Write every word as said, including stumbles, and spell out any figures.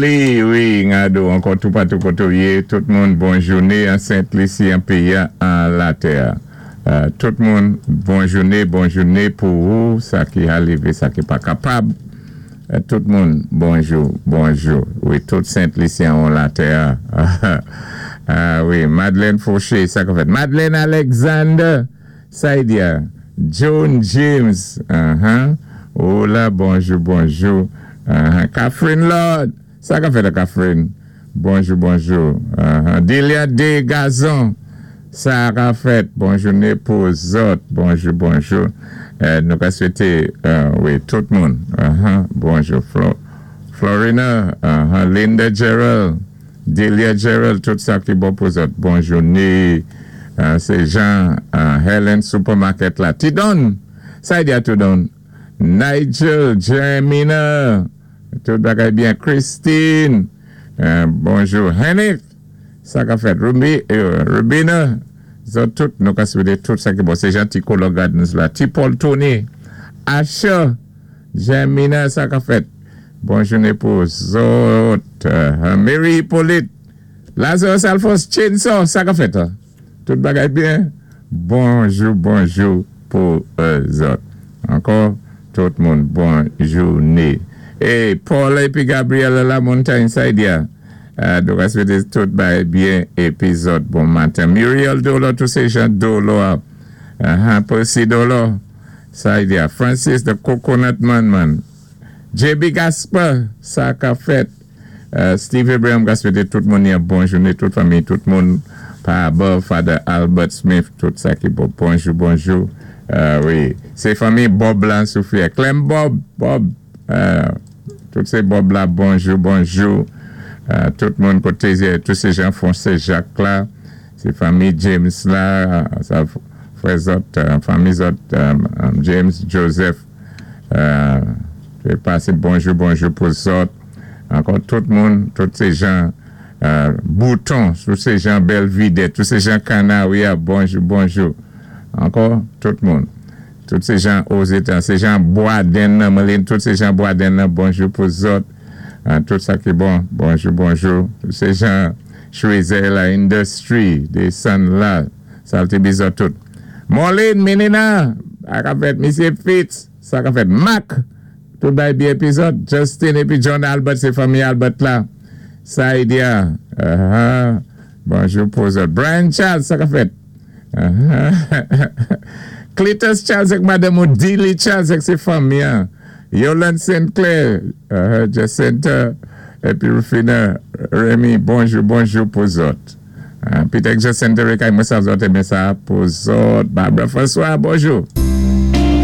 Jolie, wi, ngado, ankò toupatou koté ou yé, tout moun bon jouné an Sent Lisi, an péyi an latè. Euh, tout moun, bon jouné, bon jouné pou ou, sa ki arivé, sa ki pa kapab. Euh, tout moun, bonjou, bonjou. Wi, tout Sent Lisyen an latè. Ah wi, Madeleine Fauché, sa k fèt. Madeleine Alexander, Saïdia, Joan James, uh-huh. Oh la, bonjou, bonjou. Uh-huh. Catherine Lord, sa k fèt, Catherine? Bonjou, bonjou. Uh-huh. Delia De Gazon, sa k fèt. Bon jouné pou zòt. Bonjou, bonjou. Euh, nou ka swété, euh, wi, tout moun. Uh-huh. Bonjou, Flo, Florina, uh-huh. Linda Gerald, Delia Gerald, tout sa ki bon pou zòt. Bon jouné. Euh, sé Jean, euh, Helen Supermarket la. Tidon, sa di a Tidon. Nigel, Jeremina, tout bagay byen. Christine, euh, bonjou. Henrik, sa k fèt. Ruby, euh, Rubina, zòt tout, nou ka swété tout sa ki bon. Sé Jean Ticolo Gardens la. Ti Paul Tony, Asha, Jeremina, sa k fèt. Bon jouné pou zòt. Euh, Mary Hippolyte, Lazarus Alphonse Chainsaw, sa k fèt, hein? Tout bagay byen. Bonjou, bonjou pou euh, zòt. Ankò, tout moun, bon jouné. É Paul épi Gabriel La Montagne Saïdia. Euh, donk, swété tout bagay byen épi zòt bon maten. Muriel Dolo, tout sé jan Dolo. Uh-huh, Percy Dolo. Saïdia. Francis, the Coconut Man, man. J B Gasper, sa k fèt. Euh, Steve Abraham ka swété tout moun yon bon jouné, tout fanmi, tout moun pa above, Father Albert Smith, tout sa ki bon. Bonjou, bonjou. Euh, wi, sé fanmi Bob la Soufrière. Clem Bob, Bob, euh, tout sé Bob la, bonjou, bonjou. Euh, tout moun koté, tout sé jan Foncé Jacques la, sé fanmi James la, sa frè zòt, euh, fanmi zòt, euh, euh, James Joseph, euh, jé pasé bonjou, bonjou pou zòt. Ankò tout moun, tout sé jan euh, Bouton, tout sé jan Belvidé, tout sé jan Canawia, bonjou, bonjou. Ankò tout moun. Tout sé jan Ozetan, sé jan Boisden, Melin, tout sé jan Boisden, bonjou pou zòt. Euh, tout sa ki bon, bonjou, bonjou. Tout sé jan Schweizer la Industry, désann la, salté bizò tout. Marlene Menina, sa k fèt, Misyé Fitz, sa k fèt, Mac, tout bagay byen épi zòt, Justin épi John Albert, sé fanmi Albert la. Saïdia, uh-huh. Bonjou pou zòt. Brian Charles, sa k fèt. Uh-huh. Cletus Charles ak Madame Odile Charles ak sé fanmi. Hein. Yolande Sinclair, uh-huh. Jacinta, épi Rufina, Remy, bonjou, bonjou pou zòt. Uh, Peter Jacinta, Rekay, mwen sa zòt, émé sa pou zòt. Barbara François, bonjou.